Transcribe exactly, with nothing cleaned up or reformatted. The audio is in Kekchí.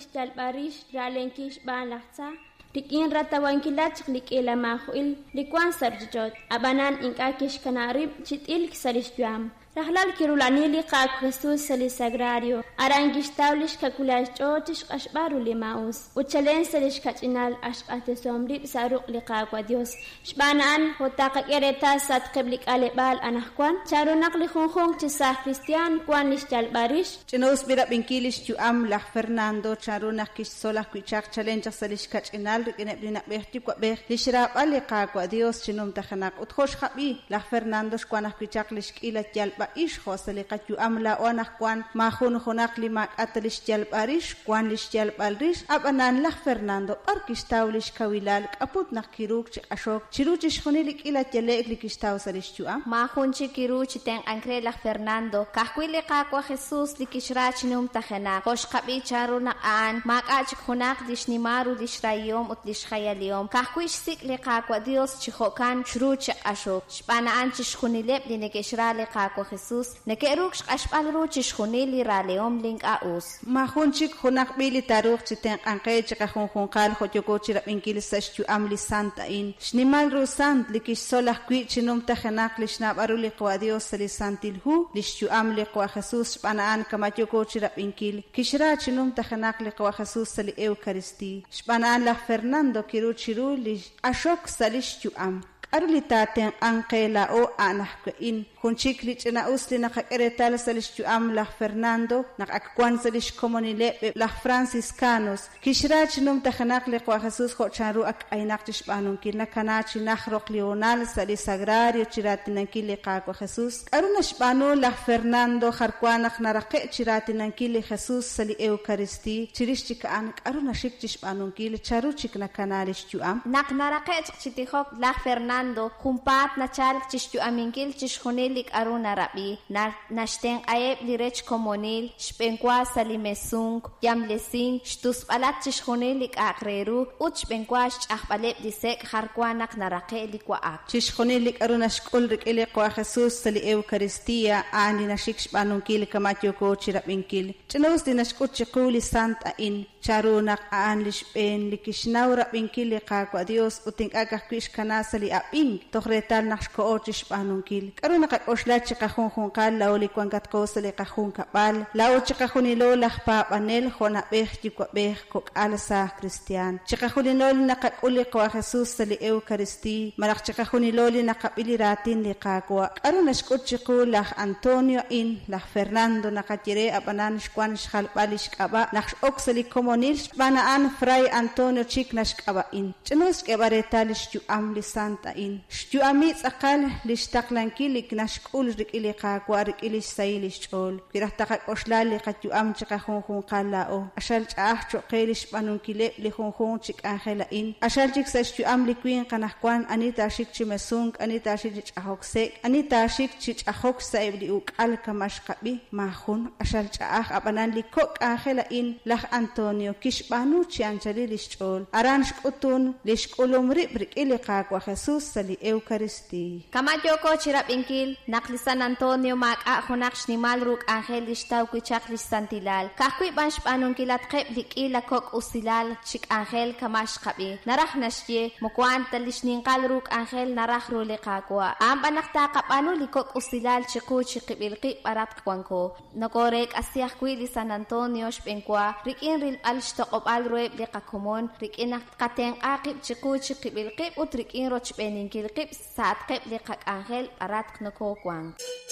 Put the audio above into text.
xyalb'al rix ra'lenkil xb'aan laj tza rik'in ratawankilatq chaq li k'iila maajo'il li wank sa' ruuchich'och', ab'anan ink'a' kixkanab' rib' chi t'ilk sa' li xyu'am. Rajlal kirula'ani li Qaawa' Jesus sa' li sagrario, aran kixtaw li xkawilal xch'ool chi xq'axb'al ru li maa'us, ut chalen sa' li xkach'inal ak xq'axtesihom rib' sa' ruq' li Qaawa' Dios. Xb'aan a'an jo' taqak'e reetal sa'atqeb' li k'aleb'aal anaqwan, chanru naq li junjunq chi saaj kristiaan wank li xyalb'al rix. Ch'ina-us b'irab'inkil lix yu'am laj Fernando chanru naq kixtzol ajwi' chaq chalen chaq sa' lix kach'inal rik'ineb' li na'b'ej yuwa'b'ej li xraab'al li Qaawa' Dios chi numtajenaq ut jo' xjab'i laj Fernando xwan ajwi' chaq lix k'iila yalb'a ix jo' sa' li qayu'am laa'o anaqwan maajun junaq li maak'ata li xyalb'al rix wan li xyalb'al rix ab'anan laj Fernando b'ar kixtaw lix kawilal k'aput naq kiruuk chi q'axok chiru chixjunil li k'iila yale'k li kixtaw sa' lix yu'am. Maajun chik kiru chi tenq'ank re laj Fernando ka'ajwi' li Qaawa' Jesus li kixra chi numtajenaq jo' xqab'i chanru naq a'an maak'a' chik junaq li xnimal ru li xrahihom ut li xjayalihom ka'ajwi' xsik' li Qaawa' Dios chi jo'kan xru chi q'axok xb'aan a'an chixjunileb' li neke'xra li Qaawa' Jesus neke'ruuk xq'axb'al ru chixjunil li ralehom li ink'a' us. Maajun chik junaq b'i li taaruuq chi tenq'anqe chi qajunjunqal jo' yooko chi rab'inkil sa' xyu'am li sant a'in. Xnimal ru sant li kixtzol ajwi' chi numtajenaq li xnaab'al ru li Qawa' Dios sa' li Santil Hu, li xyu'am li Qawa' Jesus xb'aan a'an kama yooko chi rab'inkil kixra chi numtajenaq li Qawa' Jesus sa' li Eucaristía. Xb'aan a'an laj Fernando kiru chiru li q'axok sa' li xyu'am. K'aru li taatenq'anq qe laa'o a'an ajwi' jun chik li ch'ina-us li naqak'e reetal sa' lix yu'am laj Fernando naq ak wan sa' lix komonileb' laj Franciscanos kixra chi numtajenaq li Qawa' Jesus jo' chanru ak k'aynaq chi xb'aanunkil nakana chi naj roq li honal sa' li sagrario chi raatinankil li Qaawa' Jesus. K'aru naxb'aanu laj Fernando jarwan naq naraqe' chi raatinankil li Jesus sa' li Eucaristía chirix chik a'an k'aru naxik chi xb'aanunkil charu chik nakana lix yu'am. Naq naraqe' chaq chi tijok laj Fernando junpaat nachalk chi xyu'aminkil chixjunil li k'aru narab'i naxtenq'aheb' li rech komonil xb'enwa sa' li mesunk yamlesink xtusb'alat chixjunil li k'a'aq re ru ut xb'enwa xch'ajb'aleb' li sek' jarwan naq naraqe' li wa'ak. Chixjunil li k'aru naxk'ul rik'in li Qawa' Jesus sa' li Eucaristía a'an li naxik xb'aanunkil kama yooko chi rab'inkil. Ch'ina-us li naxk'ut chiqu li sant a'in chanru naq a'an li xb'een li kixnaw rab'inkil li Qaawa' Dios ut ink'a' ka'ajwi' xkana sa' li ab'ink toj reetal naq xko'o chi xb'aanunkil. K'aru naqak'oxla chi qajunjunqal laa'o li wankatqo sa' li qajunkab'al laa'o chi qajunilo laj paab'anel jo' na'b'ej yuwa'b'ej kok'al saaj kristiaan chi qajunilo li naqak'ul li Qawa' Jesus sa' li Eucaristía malaj chi qajunilo li naqab'i li raatin li Qaawa'. K'aru naxk'ut chiqu laj Antonio a'in laj Fernando naqaye re ab'anan xwan xjalb'al li xk'ab'a' naq x'ok sa' li komonil xb'aan a'an Fray Antonio chik naxk'ab'a'in. Ch'ina-us xk'eeb'al reetal li xyu'am li sant a'in. Xyu'ami tz'aqal li xtaqlankil li naxk'ul rik'in li Qaawa' rik'in li xsahil li xch'ool. Wi raj taqak'oxla li qayu'am chi qajunjunqal laa'o q'axal ch'a'aj cho'q qe li xb'aanunkileb' li junjunq chi k'anjel a'in. Q'axal chik sa' xyu'am li winq anaqwan ani taaxik chi mesunk, ani taaxik chi ch'ajok sek', ani taaxik chi ch'ajok sa'eb' li uk'al kama xqab'i maajun q'axal ch'a'aj ab'anan li kok' k'anjel a'in laj Antonio kixb'aanu chi anchalil li xch'ool. Aran xk'utun li xk'ulum rib' rik'in li Qaawa' Jesus sa' li Eucaristía. Kama yooko chi rab'inkil naq li San Antonio maak'a' junaq xnimal ru k'anjel li xtaw wi' chaq li xsantilal ka'ajwi' b'an xb'aanunkilatqeb' li k'iila kok' usilal chi k'anjel kama xqab'i naraj naxye moko a'an ta li xninqal ru k'anjel naraj ru li Qaawa' a'an b'an naq taqab'aanu li kok' usilal chiqu chiqib'il qib' b'aratq wanko nokoreek'asi ajwi' li San Antonio xb'enwa rik'in rilb'al xtoq'ob'al ruheb' li qakomon rik'in naq qatenq'a qib' chiqu chiqib'il qib' ut rik'in rochb'eeninkil qib' sa'atqeb' li qak'anjel b'aratq nokowank.